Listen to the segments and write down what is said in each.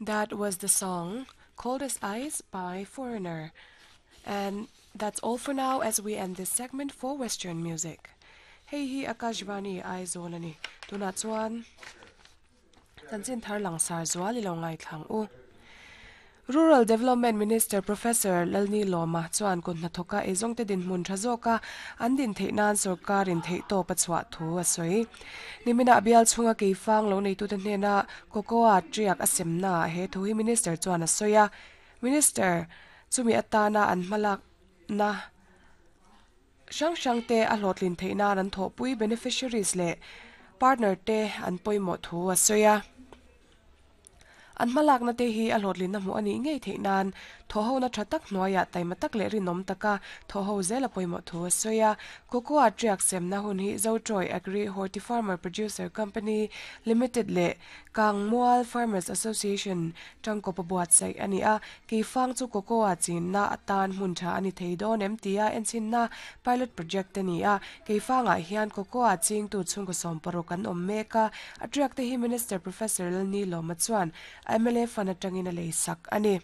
That was the song Cold as Ice by Foreigner. And that's all for now as we end this segment for Western music. Hei hi Akashvani Aizawl a ni. Tunah chuan chanchin thar langsar zual i lo ngaithlang u. Rural Development Minister Professor Lalni Lawma chuan kut hnathawka eizawngte dinhmun tha zawka an din theih nan sorkarin theihtawp a chhuah thu a sawi. Niminah bial chhunga keifang lo neitute hnena Cocoa tiak a semnaah he thu hi Minister chuan a sawi a. Minister chumi atana an hmalakna hrang hrangte a hlawhtlin theih nan an thawhpui beneficiaries leh partner te an pawimawh thu a sawi a. An hmalakna te hi a hlawhtlinna hmuh a nih ngei theih nan thawhhona tha tak hnuaiah taima tak leh rinawm taka thawhho zel a pawimawh thu a sawi a. Cocoa tiak semna hun hi Zotroy Agri Horti Farmer Producer Company Limited leh Kangmual Farmers Association tangkawp a buatsaih a ni a. Keifang chu cocoa chinna atan hmun tha a ni thei dawn em tia enchinna pilot project a ni a. Keifangah hian cocoa chingtu chhungkaw 60 an awm mek a. A tiak te hi Minister Professor Lalnilawma chuan mla fund atangin a lei sak a ni.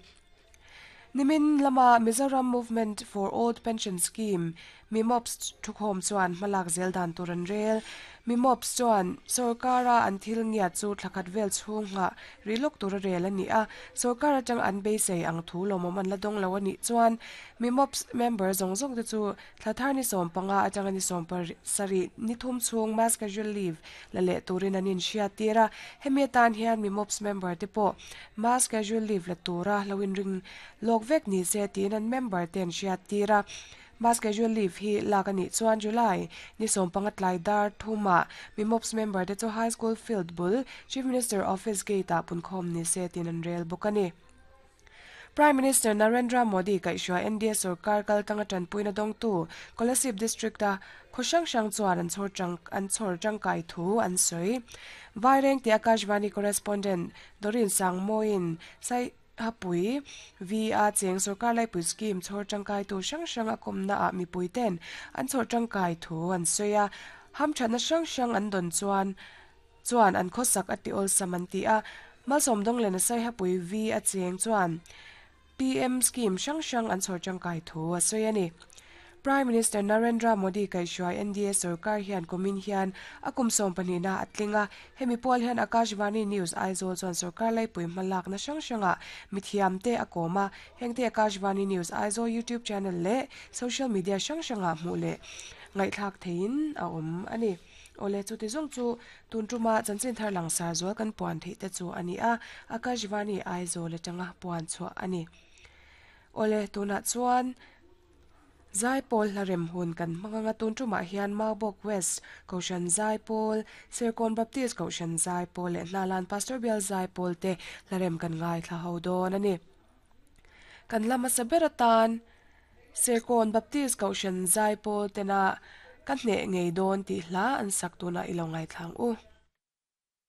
Nimin lama Mizoram Movement for Old Pension Scheme, MIMOPS, thukhawm chuan hmalak zel dan tur an rel. MIMOPS chuan sorkara an thil ngiat chu thla khat vel chhung nghah rih lawk tur a rel a ni a, sorkar atang an beisei ang thu lawmawm an la dawng lo a nih chuan MIMOPS member zawng zawng te chu Thla thar ni 15 atanga ni 17 ni thum chhung mass casual leave la leh turin an inhriattir a, hemi atan hian MIMOPS member te pawh mass casual leave la tura lo inring lawk vek ni se tiin an member te an hriattir a. Mass casual leave hi lak a nih chuan July ni 15 tlai dar thumah MIMOPS member te chu High School field bul Chief Minister Office gate ah punkhawm ni se tiin an rel bawk a ni. Prime Minister Narendra Modi kaihhruai NDA sorkar kaltanga tanpuina dawngtu Kolasib District-a khaw hrang hrang chuan an chhawr tang an chhawr tangkai thu an sawi. Vaireng tih Akashvani correspondent Doreen Sangmawiin Saihapui V-a cheng sorkar laipui scheme chhawr tangkaitu hrang hrang a kawmnaah mipuiten an chhawr tangkai thu an sawi a, hamthatna hrang hrang an dawn chuan chuan an khawsak a ti awlsam an ti a, Malsawm Dawnglen a Saihapui V a cheng chuan PM scheme hrang hrang an chhawr tangkai thu a sawi a ni. Prime Minister Narendra Modi kaihhruai NDA sorkar hian kumin hian a kum 12 na a tling a, hemi pawl hian Akashvani News Aizawl chuan sorkar laipui hmalakna hrang hrangah mithiamte a kawm a, hengte Akashvani News Aizawl YouTube channel leh social media hrang hrangah hmuh leh ngaihthlak theihin a awm a ni. Awle, chuti zawng chu tun tuma chanchin thar langsar zual kan puan theih te chu a ni a, Akashvani Aizawl atanga puan chhuah a ni. Awle, tunah chuan Zaipawl hla rem hun kan hmang anga tun tumah hian Maubawk West Kohhran Zaipawl, Serkawn Baptist Kohhran Zaipawl leh Hnalan Pastor Bial Zaipawl te hla rem kan ngaithla ho dawn a ni. Kan la hmasa ber atan Serkawn Baptist Kohhran Zaipawl tena ka hneh ngei dawn tih hla an sak tunah i lo ngaithla ang u.